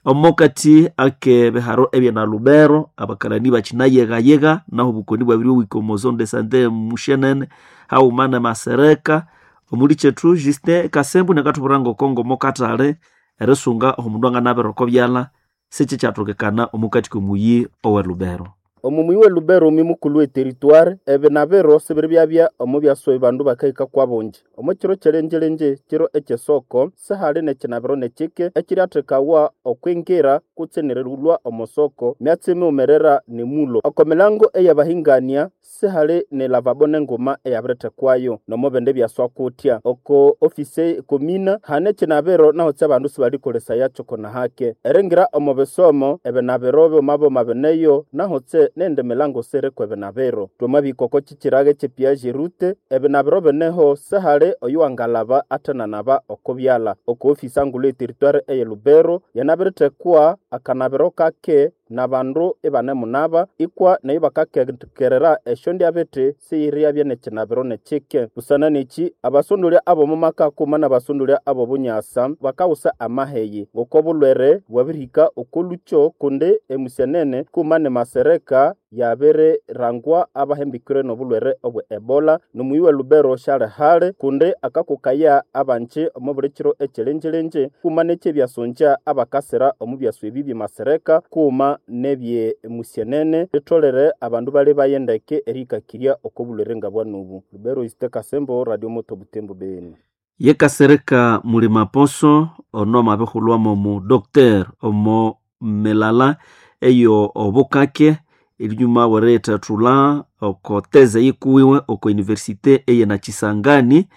Omokati ake biharo ebyana Lubero abakalani bakinayegayega naho obukoni bwabiri wika omo zone de sante mushenene haghuma ne Masereka. Omuli kyethu Justin Kasembu nakathubwira ngoko mokathali erisunga omundu anganabira oko byalha sikikyathokekana omukati komuyi owe Lubero. Omu muyi we Lubero omi mukulhu we territoire ebinabiro sibiribyabya omu byaswa bandu bakahika kwa bungi. Omu kiro kyelenjelenje kiro ekyesoko sihali nekinabiro nekike ekiryathekawa okwingira kutse nerilhwa omu soko myatsi miwumerera nemulo. Oko milango eyabahingania sihali ne lavabo nenguma eyabirithekwayo nomo bindi byaswa kutya. Oko ofisi komina hane ekinabiro naho abandu sibalikolesayakyo konahake. Eringira omu bisomo ebinabiro byoma bineyo naho nende milango siriko ebinabiro. Twamabihika oko kikiraga ekye rute ebinabiro bineho sihali oyuwangalaba athenanaba oko byalha. Oko ofisi angulhu ye territoire eye Lubero yanabirithekwa akanabiro kake nabandu ibanemunaba ikwa neyo bakakekerera esyondyabiti siyiryabya nekinabiro nekike. Busana neki abasondolya ab'omu maka kuma n'abasondolya ab'obunyasa bakawusa amaheyi ng'oko bulwere bwabirihika oko lukyo kundi emusyenene kuma ne Masereka yabirirangwa abahembikire n'obulwere obwe Ebola. N'omuyi we Lubero syali hali kundi akakokaya abanji omu buli kiro ekyelenjelenje kuma n'ekyebyasongya abakasira omu byaswa ebi bye Masereka kuma nebye musyenene litholere abandu bali bayendeke erihikakirya oko bulwere ngabwanubu. Lubero Justin Kasembo, Radio Moto Butembo Beni. Yekasereka Mulima Poso ono amabihulhwamo omu Dr omo milala eyo obukake erinyuma weriyithathulha oko teze yikuwiwe oko universite eye Nakisangani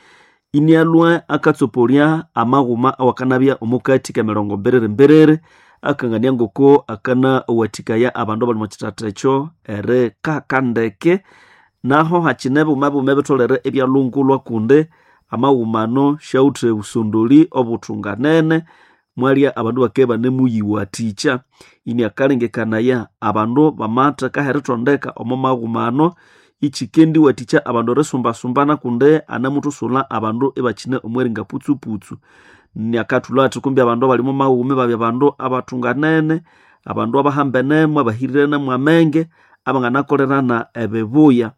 inialhwa akatsoporya amaghuma awakanabya omukati kemirongo mbiriri mbiriri akangania ngoko akanawathikaya abandu abali omwa kithatha ekyo erikaka ndeke. Naho hakine buma buma ebitholere ebyalhungulwa kundi amaghuma ano syawithe obusondoli obuthunganene mwalya abandu bakabya ibanemuyiwathikya. Iniakalengekanaya abandu bamatheka erithondeka omo maghuma ano ikikendiwathikya abandu erisumbasumbana kundi anemuthusulha abandu ibakine omweringa putsuputsu. Niakathulha athi kumbi abandu abali omo maghuma ibabya abandu abathunganene, abandu abahambenemu, abahirirene amenge, abanganakolerana ebibuya.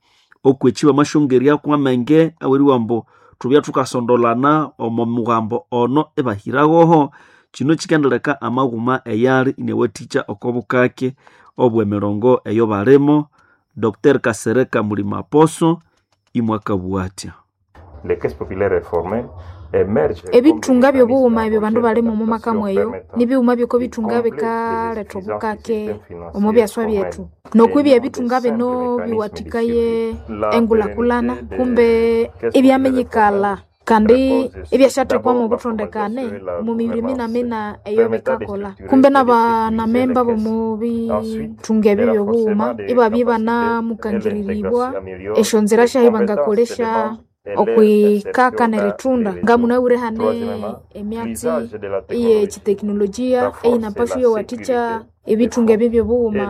Okweki bamasyongeryaku amenge aweriwa ambu thubya thukasondolana omo mughambo ono ibahiragoho. Kino kikendileka amaghuma eyali iniawathikya oko bukake obw'emirongo eyo balimo. Dr Kasereka Mulima Poso imwakabugha athya. Les caisses populaires réformées émergent Ebithunga by'obughuma ebyo bandu balima omu maka mweyo nibighuma byoko bithunga bikaletha obukake omu byaswa byethu nokwibya ebithunga bino biwathikaye engulhakulhana kumbe ibyaminyikala kandi ibyasyathekwamu obuthondekane omu mibiri minamina eyo bikakolha kumbe n'abanamemba b'omu bithunga ebyo by'obughuma ibabya ibanamukangiriribwa esyonzira syahi bangakolesya okwikaka nerithunda ngamunabwire hane emyatsi eyekitekinolojia eyinapaswa iyawathikya ebithunga ebyo by'obughuma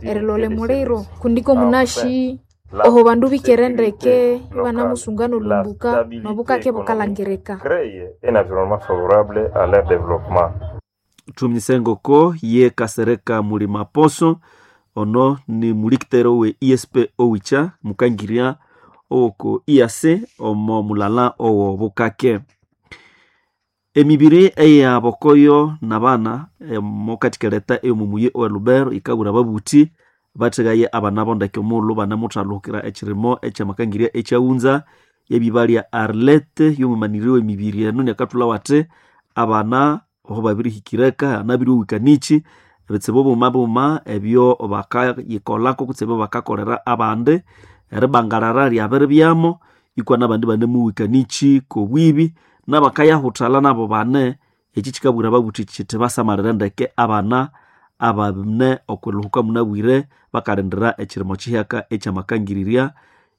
erilolha emuliro kundi komunashi oho bandu bikere ndeke ibanamusunga nolumbuka nobukake bukalangirika. Créer un environnement favorable à leur développement. Thuminyise ngoko ye Kasereka Mulima Poso ono ni mulikitero we ISP Owicha mukangirya owoko IAC omo mulala owo bukake. Emibiri eyabokoyo nabana mokathi eyomu muyi owe Lubero yikabura ababuthi bathegaye abana bo ndeke omughulhu banemuthalhukira ekirimo ekyamakangirya ekyaghunza. yebibalya Arlette yomumaniri w'emibiri eno nyakathulha wate abana oho babirihikireka anabiriwikanichi ebitsibu buma buma ebyo bakayikolako kutse ebyo bakakolera abandi eribangarara lyabiribyamo ikwa nabandi banemuwikanichi kobwibi nabakayahuthala nabo bane eki kikabwira babuthi kiti basamalire ndeke abana abane okwiluhuka munabwire bakalindira ekirimo kihyaka ekyamakangirirya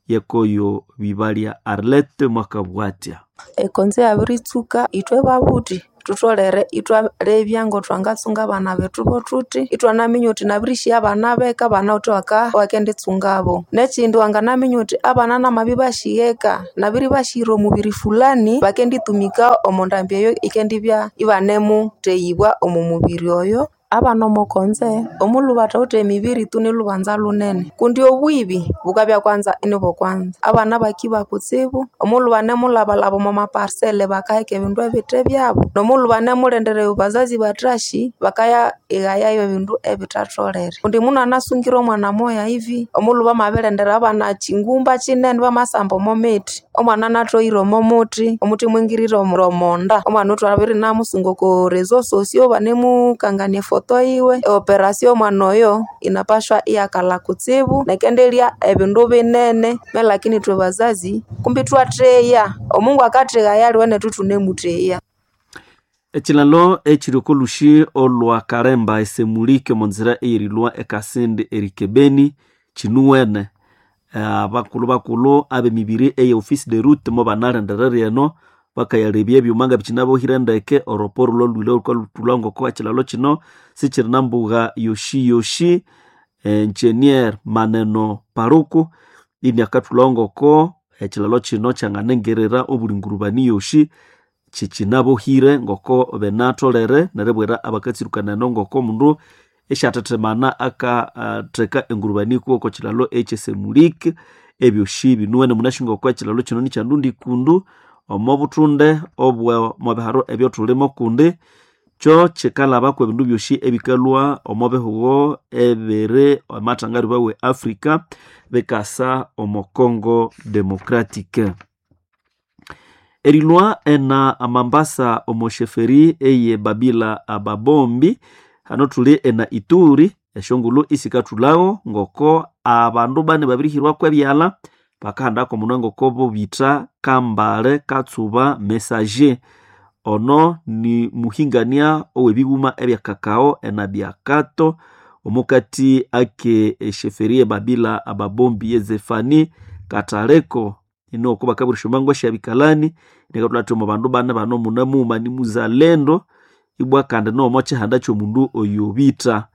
yekoyo bibalya Arlette mwakabwatya. Ekonzo yabiritsuka ithwe babuthi thutholere ithwalebya ngotwangatsunga abana bethu bothuthi ithwanaminya uthi nabirishiya abana beka banawithe wakenditsungabo. Nekindi wanganaminya uthi abana namabya ibashigheka nabiribashira omubiri fulani bakenditumika omo ndambi eyo ikendibya ibanemutheyibwa omo mubiri oyo. Abana omokonze omulhu bathawithe emibiri tu nilhubanza lunene kundi obwibi bukabya kwanza inibo kwanza abana bakiba kutsibu omulhu banemulhabalhaba omo maparsele bakaheka ebindu ebithe byabo nomulhu banemulendera bazazi bathashi bakaya ighayayo ebindu ebithatholere kundi mundu anasungire omwana moya hivi omulhu bamabirendera abana chingumba chinene bamasamba omo mithi omwana anathoire omo muthi omuthi mwingirire omonda omwana othwabiri namusunga oko reseaux sociaux banemukangania efoto yiwe eoperasio omwana oyo inapashwa iyakalha kutsibu nekendelya ebindu binene me lakini ithwe bazazi kumbi thwatheya omungu akatheghaya aliwe nethu thunemutheya. Ekilalo ekiri okolushi olwa Karemba esemulike omo nzira eyerilwa ekasindi erikebeni kinuwene abakulhu bakulhu ab'emibiri eye office de route mo banalindirira eno bakayalebya ebyuma nga bikinabohire ndeke oroporo lolwile olukalhutulha ngoko ekilalo kino sikiri nambugha yoshi yoshi engineer Maneno Paruku ini akathulha ngoko ekilalo kino kyanganengerera obulingurubani yoshi kikinabohire ngoko benatholere neribwira abakatsirukana eno ngoko omundu esyathethemana akatheka engurubani kuwo oko kilalo ekyesemulike ebyoshi binuwene munasi ngoko ekilalo kino nikyandundi kundu omo buthunde obwe omwabiharo ebyothulimo kundi kyo kikalhabako ebindu byoshi ebikalhwa omo bihugho ebiri amathangariba we Africa bikasa omo Congo Democratic. Erilwa ena Mambasa omo sheferi eye Babila ababombi hano thuli ena Ituri esyongulhu isikathulhago ngoko abandu bane babirihirwako ebyalha bakahandako omunwa ngoko bobitha Kambale Katsuba Messager ono ni muhingania ow'ebighuma ebya kakao ena byakato omukati ake esheferi ye Babila ababombi ye Zefani Kataleko ino bakabura mango syabikalani nikatulha omo bandu bane bano muna mughuma ni muzalendo ibwa kandi nomo kyihanda ky'omundu oyo bitha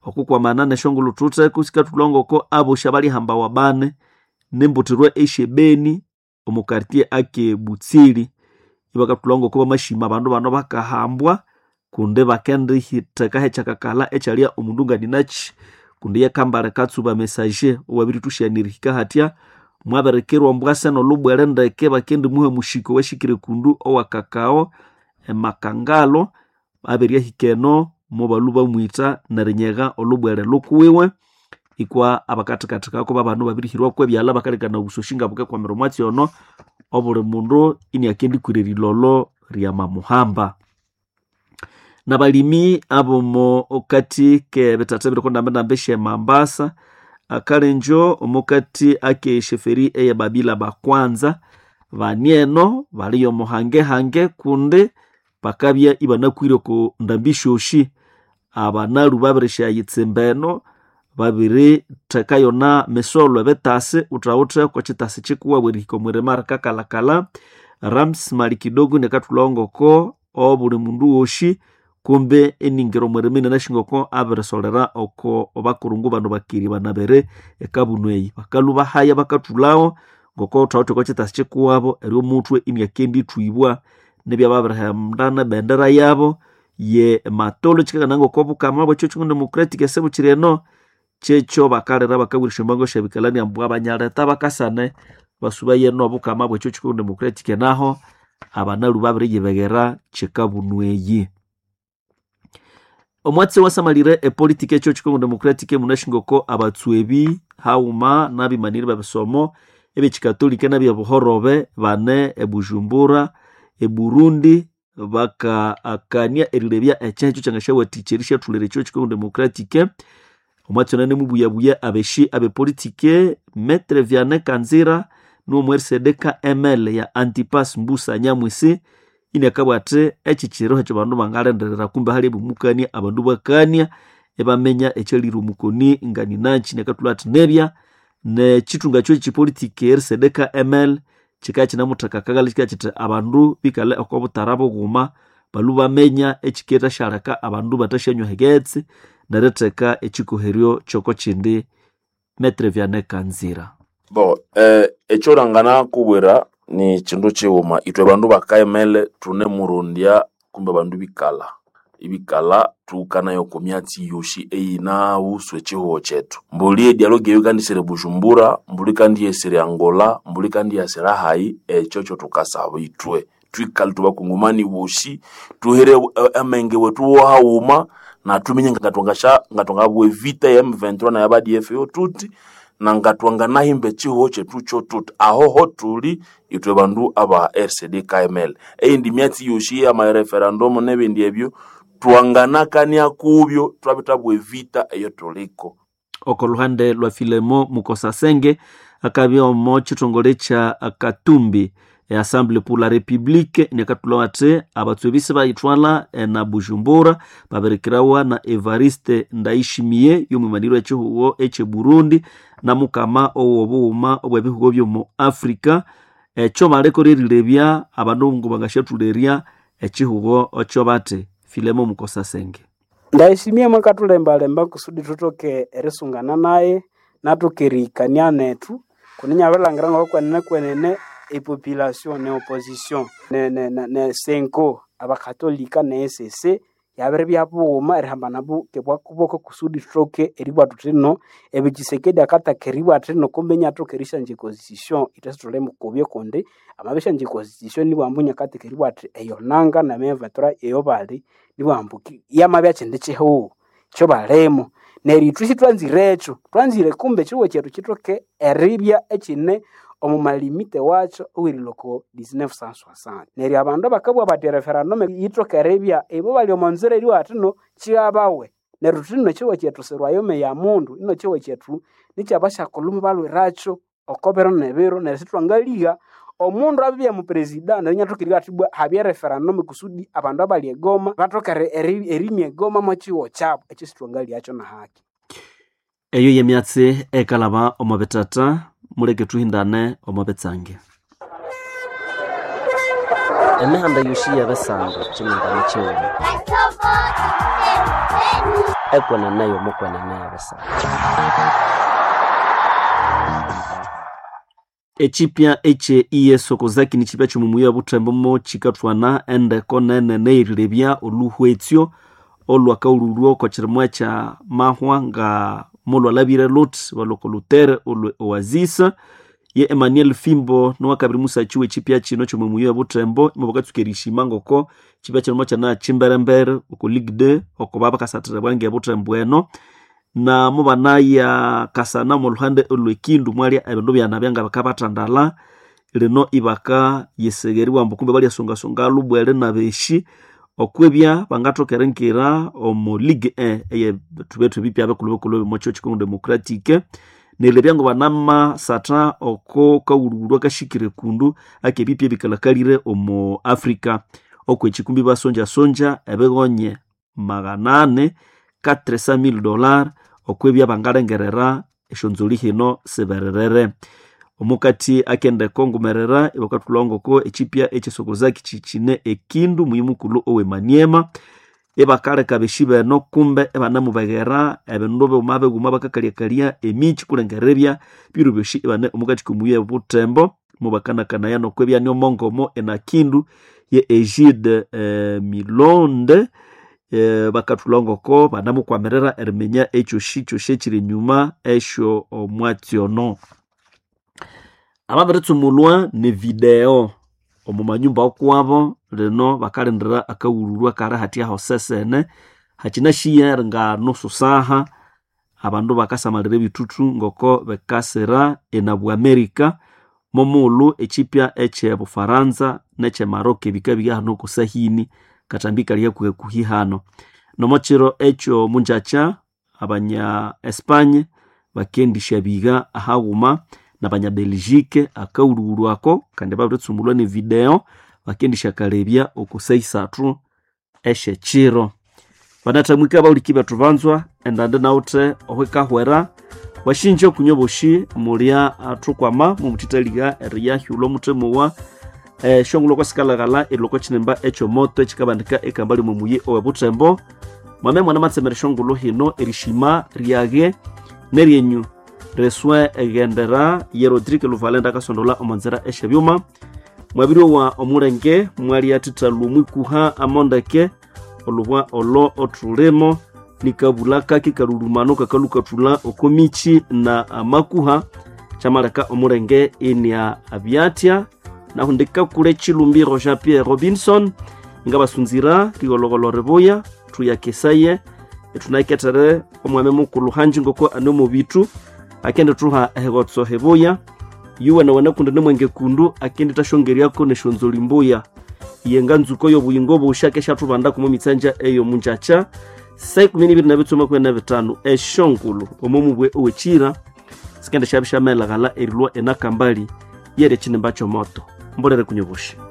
okukwamana nesyongulhu thutheko sikathulha ngoko abosi abalihambawa bane nembuthirwa esyebeni omu quartier ake Butsili ibakathulha ngoko bamashima abandu bano bakahambwa kundi bakendihithekaho ekyakakalha ekyalya omundu nganinakyi kundi ye Kambale Katsuba Messager owabirithusyanira erihika hatya mwabirikirwa ombwase nolubwere ndeke bakendimuha omushiko owashikire kundu owa kakao emakangalo abiryahika eno mobalhwa bamwitha nerinyegha olubwere lukuwiwe ikwa abakathikathikako babanu babirihirwako ebyalha bakalekana obusoshi nga bukekwamira omwatsi ono obuli mundu iniakendikwira erilolo ryamamuhamba. Nabalimi abomo kati kebithatha ebiri okondambendambi esyemambasa akalenjo omukati ake esheferi eye Babila bakwanza bani eno baliyo omuhangehange kundi bakabya ibanakwire oko ndambi syosi abanalu babirishyayitsimba eno babiritheka yona misolo ebitasi wuthawuthe oko kyitasi kikuwabu erihika omwirima rikakalhakalha Rams mali kidogo nikathulhawo ngoko obuli mundu wosi kumbe eningira omwirima inanasi ngoko abirisolera oko bakurungu bano bakiri banabere ekabunu eyi bakalhwa bahaya bakathulhawo ngoko wuthawuthe oko kyitasi kikuwabo eri omuthwe iniakendithwibwa nibyababirihendana ebendera yabo ye matolo kikakana ngoko obukama bwekyo kyingu democratic esebukiri eno kyekyo bakalira bakabwira esyombango syabikalani ambu abanyaleta bakasane basubaye nobukama bwekyo kyingu democratic naho abanalu babiriyibeghera kyikabunu eyi. Omwatsi wasamalire epolitiki ekyo kyingu democratic munasi ngoko abatswebi haghuma n'abimaniri b'ebisomo ebyekikatolika n'ebyebuhorobe bane eBujumbura, eBurundi bakaakania erilebya ekyecho kyangasyawathikya erisyathulera ekyo Congo Democratique. Omwatsi onene mubuyabuya abeshi abepolitike Maître Vianney Kanzira n'omu RCD KML ya Antipas Mbusa Nyamwisi iniakabugha athi eki kiro ekyo bandu bangalindirira kumbe hali ebimukania abandu bakania ibaminya ekyalire omukoni nganinakyi inakathulha athi nebya nekithunga kyo kyipolitiki RCD KML kikabya kyinamutheka akaghalha kikabya kyithi abandu bikalhe oko butara bughuma balhwe baminya ekyikethasyaleka abandu bathasyanywa eghetse neritheka ekikoheryo kyoko kyindi. Maître Vianney Kanzira. Bo ekyolangana kubwira ni kindu kighuma ithwe bandu bakaemele thunemurondya kumbe bandu bikalha ibikalha tuhukanayo oko myatsi yosi eyinahusu ekihugho kyethu. Mbuli edialogue eyo yikandisira eBujumbura, mbuli ikandiyesira Angola, mbuli ikandiyasira hayi, ekyo kyothukasaba ithwe thwikale thubakongomani bosi thuhere amenge wethu wohaghuma na thuminye ngathwangabugha evita ya M23 na ya ADF yo thuthi na ngatwanganahimba ekihugho kyethu kyotuthi ahoho thuli ithwe bandu aba RCD KML. Eyindi myatsi yosi eyama referendum nebindi ebyo twanganakania kubyo twabithabwa evita eyo thuliko. Oko luhande lwa Filemo Mukosasenge akabya omo kithongole kya Katumbi Assemblée pour la République inakathulha athi abatswebisi bayithwala na Bujumbura babirikirawa na Evariste Ndayishimiye y'omwimaniro ekihugho ekye Burundi na mukama owobughuma obw'ebihugo by'omu Africa. Ekyo baleko erilebya abandu ngo bangasyathulherya ekihugho ekyo bathi. Filemo Mukosasenge. Ndayishimiye mwakathulembalemba kusudi thuthoke erisungana naye nathoke erihikania nethu kuninya abirilhangira ngokwenene kwenene epopulation ne opposition ne senko abakatolika ne ECC yabiribya bughuma erihambana bwakuboko kusudi thuthoke eribugha thuthi no ebi Tshisekedi akataka eribugha athi no kumbe inathoka erisyangya econstitution ithwe sithulimukubya kundi amabya constitution nibwambu inakatheka eribugha athi eyo nanga ne M23 eyo bali nibwambu yamabya kyindi kihugho kyobalimo. Neryo ithwe sithwanzirekyo, thwanzire kumbe ekihugho kyethu kithoke eribya ekyine omu malimite wakyo owerilwa oko 1960. Neryo abandu abakabugha bathi ereferendum yithoke eribya ibo bali omo nzira eribugha bathi no kighabawe. Neryo thuthi ino ekihugho kyethu sirwayome ya mundu, ino ekihugho kyethu nikyabasyakulhu mubalwirakyo oko biro nebiro neryo sithwangaligha omundu abibya mupresida neryo inathoka eribugha athi ibwa habye referendum kusudi abandu abali egoma bathoke erimya egoma mwekihugho kyabu. Ekyo sithwangalighakyo nahaki. Eyo yemyatsi ekalaba omo bitata muleke thuhindane omo bitsange. Emihanda yosi yebisanga kyimindane kyighuma ekwenene yomukwenene yebisanga. Ekipya ekye IS Okozaki nikipya kyomumuya obuthembo mo kikathwana endeko nene nerirebya oluhwetsyo olwakaululwa oko kirimwa ekya mahwa nga molwalabire luthi balwoko Lutere olwe Oasis. Ye Emmanuel Fimbo niwakabiri musakyi w'ekipya kino kyomumuya obuthembo imubakatsuka erishima ngoko kipya kino mokyana kyimberembere oko Ligue 2 oko babakasathira bwange obuthembo eno na mubanaya kasana muluhande olwekindu mwalya ebindu byanabya nga bakabathandala lino ibaka yisegeriwa ambu kumbe balyasongasonga lubwele nabeshi okwebya bangathoka erinkira omu Ligue 1 eye thubethu ebipya bikulhu bikulhu bimokyo Congo Democratique neryo ngo banamasatha oko kawulhuwulhu akashikire kundu akebipya ebikalhakalire omu Africa okwechi kumbi basonjasonja ebighonye 400 $400,000 okwebya bangalengerera esyonzoli hino sibererere. Omukati akendeko ngumerera ibakathulha ngoko ekipya ekyesokozaki kikine ekindu muyi mukulhu owe Maniema ibakaleka beshi beno kumbe ibanamubeghera ebindu bighuma bighuma bakakalyakalya emikyi kulengerera ebya biro byosi ibane omukati komuyi obuthembo mubakanakanaya nokwebya niomongomo enakindu ye Egide Milonde bakathulha ngoko banamukwamirira eriminya ekyosi kyosi ekyiri enyuma esyo omwatsi ono. Ababiritsumulwa ni video omu manyumba okwabo lino bakalindira akawululwa kali hathya hosesene hakinashiya nga nusu saha abandu bakasamalira ebithuthu ngoko bikasira enabwa America. Momugulu ekipya ekye Bufaransa nekye Maroc bikabirya hano kusahini katambi kali hakuhi hano. Nomo kiro ekyo munjakya abanya Espanye bakendisya biga ahaghuma nabanya Belgique akaghulhughulhu ako kandi babiritsumulwa ne video bakendisya kalebya oko saa isathu esyekyiro. Banathamwika abahuliki bethu banzwa endandi nawuthe ohwikahwera washinja okunywa boshi mulya athukwama mumuthithaliha eriyahyulha omuthemowa eshongulho okwasikalaghala erilwa okwa ekyomoto ekikabandika ekambali mumuyi owe Butembo. Mwame mwana matsemera eshongulho hino erishima ryage neryenyu reswe eghendera ye Rodrigue Luvalenda akasondola omonzera esyebyuma. Mwabiryowa omulenge mwalyathithalwa omwikuha amondeke olubwa olo othulimo nikabula kaki kalulumano kakalukathula okomichi na amakuha kyamaleka omulenge inia abyathya. Nahu ndikakule Chilumbiro Jean Pierre Robinson ngabasunzira rigologolo ribuya thuyakesaye ethunakethere omwami mukulhu hanji ngoko ane omubitu akendithuha ehigotso hibuya yuwe nawana kundi nimwenge kundu akendithasyongeryako nesyonzoli mbuya yenga nzuko yobuyingo busha keshathubanda kumo mitsanja eyo munjakya saa 12:25 eshongulu omomubwe owechira sikende syabya syamelaghala erilwa enakambali yeri ekinimba kyomoto mbolere kunyobosha.